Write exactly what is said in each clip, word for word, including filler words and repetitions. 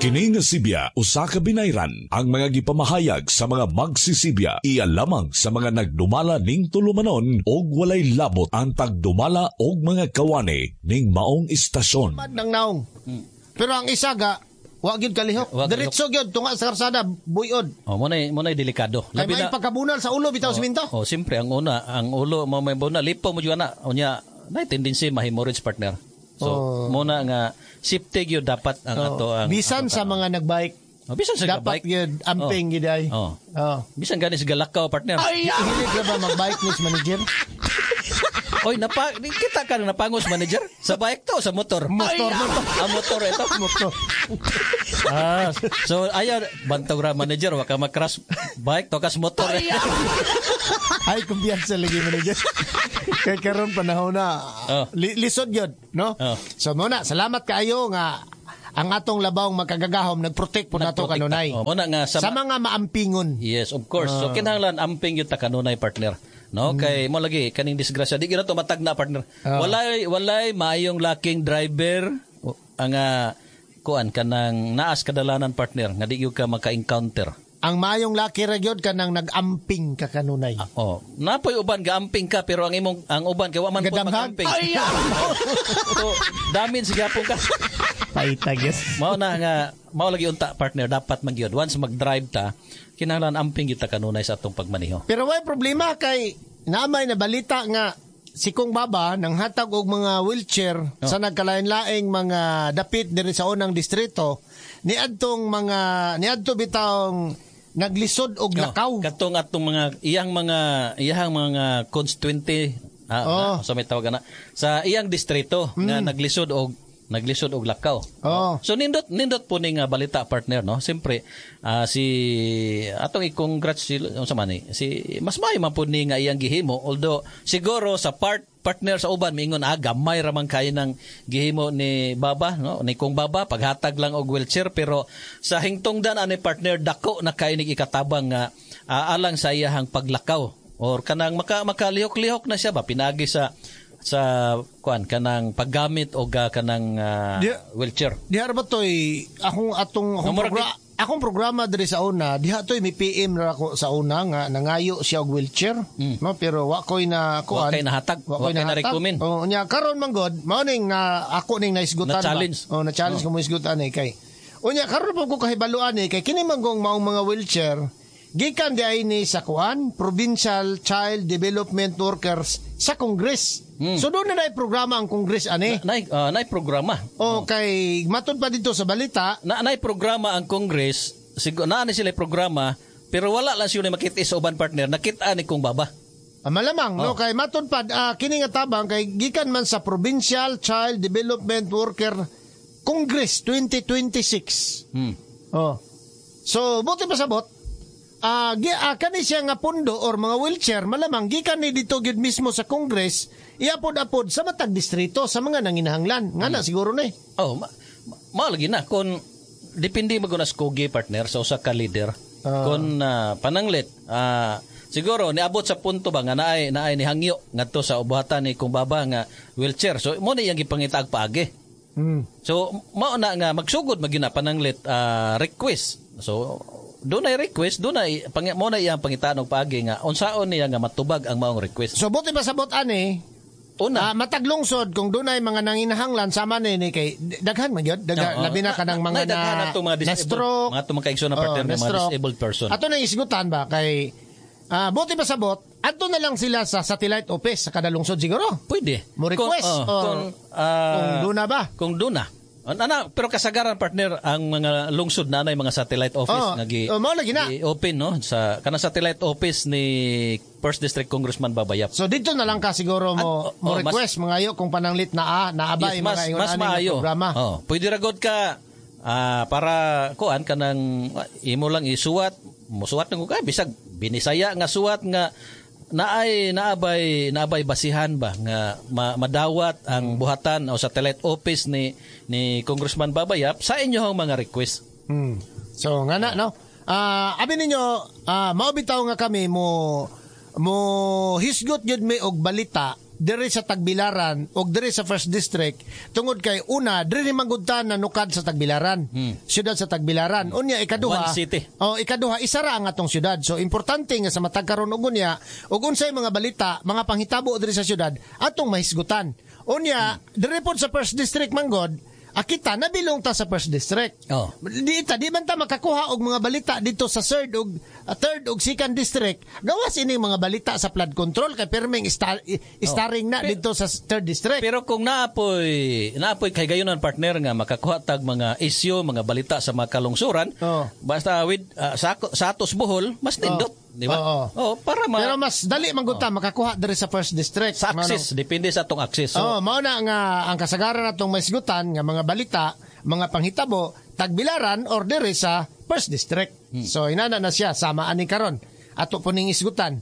Kini nga Sibya usa ka binayran ang mga gipamahayag sa mga magsisibya iya lamang sa mga nagdumala ning tulumanon og walay labot ang tagdumala og mga kawani ning maong istasyon. Mad ng naong. Pero ang isa ga, wa gyud kalihok. Wa Diretso gyud tunga sa karsada, buyod. Oh, mo na mo na delikado. Kay may pagkabunal sa ulo bitaw simento. Oh, siyempre ang una, ang ulo mo may bunal lipo mo jud na. Unya, na tendency ma-hemorrhage partner. So, Oh. mo na nga safety gyud dapat ang ato ang Bisan ato sa mga nagbike, Oh, bisan sa dapat bike. gyud amping gyud ay. Oh. Oh. Bisan gani sa galakaw partner. Hilig ra ba magbike ni manager? Oy, napa di kita ka na napangos manager sa bike to o sa motor. Motor, motor. Ang motor ito. Motor. Ah, so ayaw bantog ra manager wa ka mag-crash bike to kas motor. Ay, kumpiyansa lagi manager. Kay karon panahon na Oh. li- lisod gyud, no? Oh. So mo na, salamat kaayo nga ang atong labawng makagagahom nagprotect po nato Nagprotekta. kanunay. Oh, mo na nga sa, Sa mga maampingon. Yes, of course. So kinahanglan amping gyud ta kanunay partner. No, kay mo lagi kaning disgrasya di gyud na to matagna partner. Ah. Walay walay maayong laking driver o, ang ah, kuan kanang naas kadalanan partner nga di gyud ka maka-encounter. Ang maayong laki ra gyud kanang nag-amping ka kanunay. Oh, napoy uban gaamping ka pero ang imong ang uban kay wa man po Gadamhag. mag-amping. so damage gyapon ka. Paita gyud. Mao na nga mao lagi unta partner dapat man gyud once mag-drive ta kinahanglan amping gyud ta kanunay sa atong pagmaneho. Pero way problema kay naamay na balita nga si Kong Baba nang hatag og mga wheelchair Oh. sa nagkalain-laing mga dapit diri sa unang distrito niadtong mga niadto bitawng naglisod og lakaw. Oh, katong atong mga iyang mga iyang mga constituente ah, Oh. na, so may tawag na sa iyang distrito nga naglisod og naglisod og lakaw. Oh. So nindot nindot po ning ah, balita partner no. Siyempre ah, si atong i-congrats si unsa man ni si mas maayo man po ni nga iyang gihimo although siguro sa part partner sa uban miingon ah gamay ra man kayo ng gihimo ni Baba no ni Kong Baba paghatag lang og wheelchair pero sa hingtungdan ani partner dako na kayo nig ikatabang nga ah, alang sa iyahang paglakaw or kanang maka makalihok-lihok na siya ba pinagi sa sa kuan kanang paggamit og ah, kanang ah, Di- wheelchair Diha ra ba toy akong atong akong, Nga, murag progra- akong programa diri sa una diha toy may PM ra ako sa una nga nangayo siya og wheelchair no pero wa koy na kuan Wa kay nahatag. wa Wa koy kay nahatag na-recommend. oh nya karon man god mao ning na ako ning naisgutan ba Na-challenge. oh na challenge ko mo isgutan eh kay unya karon po ko kahibaluan eh kay kini man gong maong mga wheelchair gikan di ay ni sa kuan Provincial Child Development Workers sa Congress. So doon na naay programa ang Congress ani. Nay ah, nay programa. O kay matud pa dito sa balita, Na nay programa ang Congress, siguro naa ni sila programa pero wala lang sila makita sa uban partner, nakita ni kong baba. ah, malamang no Oh. kay matud pa ah, kini nga tabang kay gikan man sa Provincial Child Development Worker Congress twenty twenty-six. Hmm. Oh. So buti pa sabot ah gi ah, kani siya nga pundo or mga wheelchair malamang gikan ni dito gyud mismo sa Congress iapod-apod sa matag distrito sa mga nanginahanglan. Nga na siguro na eh. Oh, ma, ma, mao lagi na kung depende man gud na sa kugi partner sa usa ka leader. Ah. Kung ah, pananglit ah, siguro niabot sa punto ba nga naay naay ni hangyo ngadto sa ubuhatan ni kung baba nga wheelchair. So mo na iyang gipangitaag paagi. Hmm. So mao na nga magsugod magyud na pananglit ah, request. So dunay request, dunay pang, mo na iyang pangitaan og paagi nga unsaon niya nga matubag ang maong request. So buti pa sabot ani Una, Ah, matag lungsod kung dunay mga nanginahanglan sama ni ni kay daghan man gyud daghan Oo. labi na kanang mga Na- daghan na, na itong mga na disabled- stroke mga itong mga kaigsoon na partner Oo, nga mga na-stroke. disabled person. Ato nang isgutan ba kay ah buti pa sabot adto na lang sila sa satellite office sa kada lungsod siguro. Pwede. Mo request Kung, oh, or kung, ah, kung duna ba? Kung duna. Ana, pero kasagaran partner ang mga lungsod na nay mga satellite office Oh, nga gi oh, mao lagi na. gi open no sa kanang satellite office ni First District Congressman Babayap. So dito na lang ka siguro mo At- oh, mo oh, mas- request mga ayo kung pananglit na ah, naa ba Yes, yung mas mga ingon mas ani nga maayo. programa. Oh, pwede ra gud ka ah, para kuan kanang ah, imo lang isuwat, musuwat na ka bisag binisaya nga suwat nga naay naabay naabay basihan ba nga ma- madawat ang buhatan o satellite office ni ni Congressman Babayap sa inyong mga request. Hmm. So nga na no. Ah, abi ninyo ah mao bitaw nga kami mo mo hisgot gyud mi og balita diri sa Tagbilaran og diri sa First District tungod kay una diri man gud ta nanukad sa Tagbilaran. Syudad sa Tagbilaran. Unya ikaduha. One city. Oh, ikaduha isa ra ang atong syudad. So importante nga sa matag karon og unya og unsay mga balita, mga panghitabo diri sa syudad atong mahisgutan. Unya diri pod sa First District manggod, akita nabilong ta sa First District. Oh. Di ta di man ta makakuha og mga balita dito sa third og uh, third og second district. Gawas ini mga balita sa flood control kay perming star, starring na dito sa third district. Pero kung naapoy naapoy kay gayonan partner nga makakuha tag mga isyu, mga balita sa mga kalungsuran, Oh. basta with uh, sa, sa atos Bohol, mas nindot, di ba? Oo. Oh, para ma Pero mas dali man gud ta makakuha diri sa first district. sa access, depende sa atong access. So, Oh, mao na nga ang kasagaran natong maisgutan nga mga balita, mga panghitabo, Tagbilaran or diri sa first district. Hmm. So inana na siya sama ani karon. Ato po ning isgutan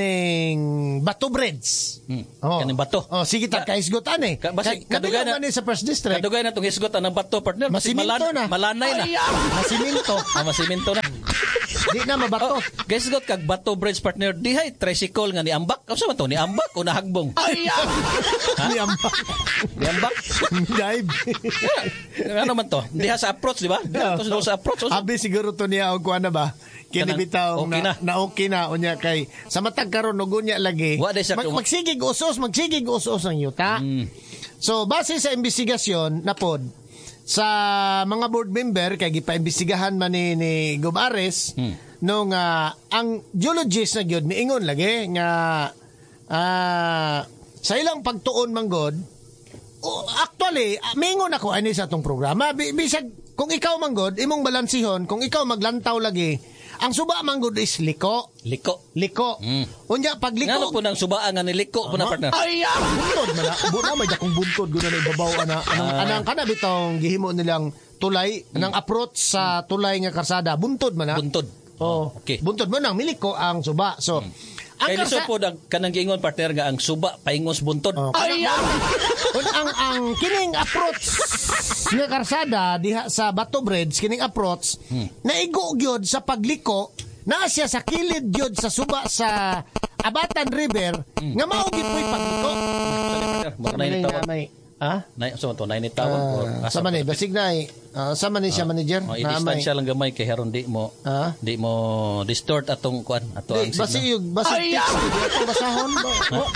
kining Bato Bridge. Hmm. Oh. Kaning bato. Oh, sige ta kaisgutan eh. Ka- basi, Kay- kadugay nabilong na- man ni sa first district. Kadugay na itong hisgot ang bato partner. Kasi Masiminto malan- na. Malanay na. Masiminto. Ah, masiminto na. Di na mabato. Oh, guys, got kag Bato Bridge partner. Dihay tricycle nga ni ambak. Unsa man to ni ambak o nahagbong? Ni ambak. Ni ambak. Dive. Yeah. Ano man to? Diha sa approach, di ba? Diha to sa approach. Unsa? Abi siguro to niya og kuan na ba? Kini Kanang bitaw okay na, na. na okay na unya kay sa matag karon og unya lagi. Wa day siya Mag, kung- magsigig usos, magsigig usos ang yuta. Mm. So base sa investigasyon na pod sa mga board member kay gipaimbestigahan man ni, ni Gob Ares Hmm. nung ah, ang geologist na gyud miingon lagi nga ah, sa ilang pagtuon manggod oh, actually ah, miingon ako ani sa atong programa Bi- bisag kung ikaw manggod imong balansihon kung ikaw maglantaw lagi ang suba manggod is liko Liko. liko Mm. unya pag liko Ngano po nang subaan nga niliko po na partner. Ay, buntod man na. Bu na may dakong buntod guna na ibabaw ana. Anang Ah. anang kana bitong gihimo nilang tulay, anang approach sa tulay nga karsada, buntod man na. Buntod. Oh, Okay. Buntod man nang miliko ang suba. So, ang Kay lisod karsa- po ang kanang giingon partner nga ang suba paingos buntod. Oh, ay, Un, ang ang kining approach nga karsada diha sa Bato Bridge kining approach Hmm. naigo gyud sa pagliko naa siya sa kilid gyud sa suba sa Abatan River Hmm. nga mao gyud po'y pagliko. Sorry, partner. Mura na May- tawag. may- Ha? Nay, so to nine tawag or Ah, sa man eh, basig na eh. Ah, sa man eh siya manager. Oh, Na may- i-distansya lang gamay kay haron di mo Ah? di mo distort atong kuan ato ang Di, basig signal. yung basig text. Di ato basahon ba? Oh,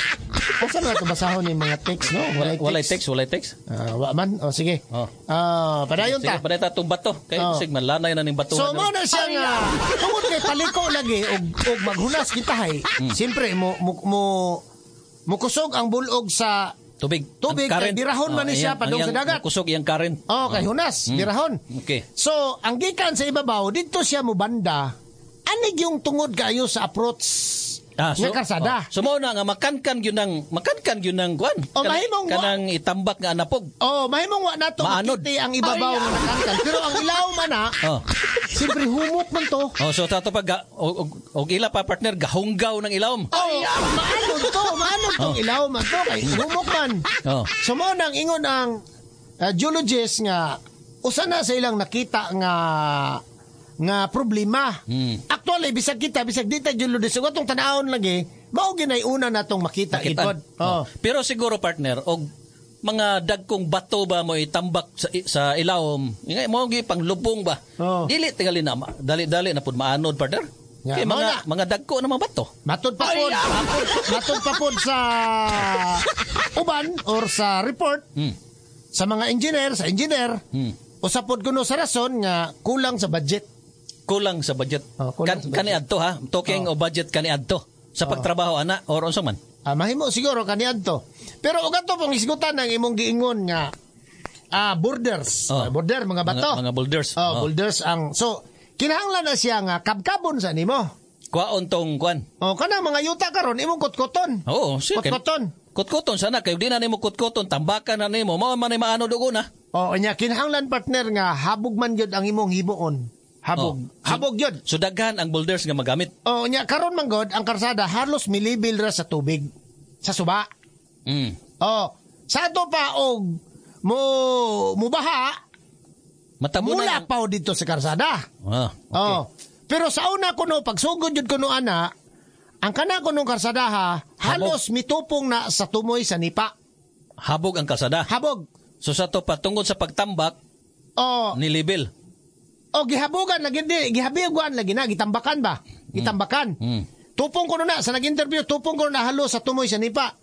Asa man ato basahon yung mga text, no? Walay text. Walay text, walay text. Ah, wa man. Oh, sige. Oh. Ah, padayon Sige, ta. paday ta atong bato. Kay Oh. sig malanay na ning bato. So mo na siya nga tungod kay paliko lagi og og maghunas kita hay. Hmm. Siyempre mo mo mo mukusog ang bulog sa tubig. Tubig, Ang current. kay birahon man ni Oh, siya iyang- padung ang sa iyang- dagat. Kusog iyang current. Oh, kay hunas, birahon. Okay. So, ang gikan sa ibabaw didto siya mubanda. Anig yung tungod kayo sa approach Ah, nga karsada. Oh, so mao na nga makankan gyud nang makankan gyud nang kuan. Oh, mahimong wa- kanang itambak nga anapog. Oh, mahimong wa nato Maanod. makiti ang ibabaw nga nakankan. Pero ang ilaw man na, Oh. siyempre humok man to. Oh, so tato pa ga, og, og, og ila pa partner gahunggaw ng ilawom. Oh, maanod to, maanod tong ilaw man to kay humok man. Oh. So mao nang ingon ang uh, geologist nga usa na sa ilang nakita nga nga problema. Hmm. Actually bisag kita bisag di ta geologist ug atong tan-awon lagi, mao ginay una natong makita Makitaan. gid Oh. Oh. Pero siguro partner og mga dagkong bato ba mo itambak sa, sa ilawom. Nga mo gi panglubong ba. Oh. Dili tingali na ma- dali-dali na pud maanod partner. Ya, Kay mao mga na. mga dagko na mga bato. Matod pa pod, matod pa pod sa uban or sa report Hmm. sa mga engineer, sa engineer, Hmm. usa pod kuno sa rason nga kulang sa budget. Kulang sa budget. Oh, kulang kan, sa budget. Oh. Kaniadto ha. Talking of budget kaniadto. Sa pagtrabaho ana or unsa man. Ah, mahimo siguro kaniadto. Pero og ato pong isgutan ang imong giingon nga ah borders, Oh. Ah, border mga bato. Mga, mga boulders. Oh, Oh. boulders ang so kinahanglan na siya nga kabkabon sa nimo. Kuwaon tong kuan. Oh, kanang mga yuta karon imong kutkuton. Oo, sige. Kutkuton. Kutkuton sana kayo di na nimo kutkuton, tambakan na nimo, mao man ay maanod og una. Oh, nya kinahanglan partner nga habog man gyud ang imong himuon. Habog. Oh. Habog gyud. So daghan ang boulders nga magamit. Oh, nya karon man gud ang karsada halos milibil ra sa tubig sa suba. Mm. Oh, sa ato pa og mo mubaha Matabunan. mula ang- pa dito sa karsada. Ah, okay. Oh. Pero sa una kuno pagsugod jud kuno ana, ang kana kuno karsada ha, Halos mitupong na sa tumoy sa nipa. Habog ang kalsada. Habog. So sa to patungod sa pagtambak O, ni level. o gihabogan lagi di, gihabigan lagi na, gitambakan ba? Gitambakan. Mm. Tupong ko na sa nag-interview, tupong ko na halos sa tumoy sa nipa.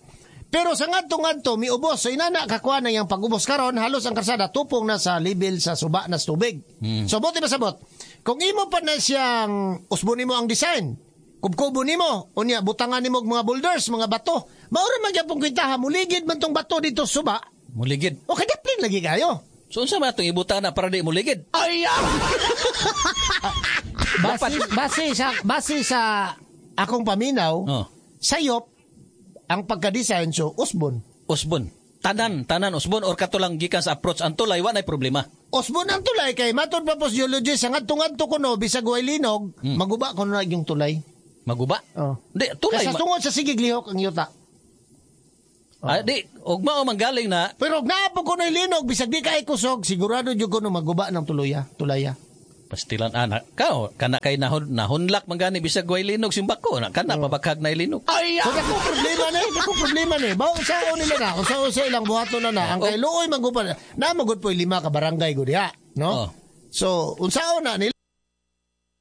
Pero sa ngadto ngadto miubos, so inana kakuha na yang pag-ubos karon halos ang kalsada tupong na sa level sa suba na sa tubig. Mm. So buti ba sabot? Kung imo pa na siyang usbon nimo ang design, kubkubo nimo, unya butangan nimo og mga boulders, mga bato. Mao ra man gyapon kwentaha muligid man tong bato dito sa suba. Muligid. O kadaplin lagi kayo. So unsa man atong ibutang na para di muligid? Ay! base, base sa base sa akong paminaw, Oh. sayop ang pagka-design so usbon. Usbon. Tanan, tanan usbon or kato lang gikan sa approach ang tulay wa nay problema. Usbon ang tulay kay matod pa po sa geologist sa ngadto-ngadto kuno bisag way linog, maguba kuno na yung tulay. Maguba. Oh. Di tulay. Kasi Ma- tungod sa sigig lihok ang yuta. Ah, di ug mao man galing na Pero og naa po kuno linog bisag di kay kusog, sigurado jud kuno maguba ng tuluya, tulaya. Pastilan anak ka kana kay nahon nahunlak man gani bisag way linog simbako na kana pabakhag na linog. Ay, so dako problema ni, dako problema ni. Bao sa nila na, kung sa sa ilang buhaton na na, ang kay luoy magupa na, na magud po lima ka barangay gud diha, no? Oh. So unsaon na nila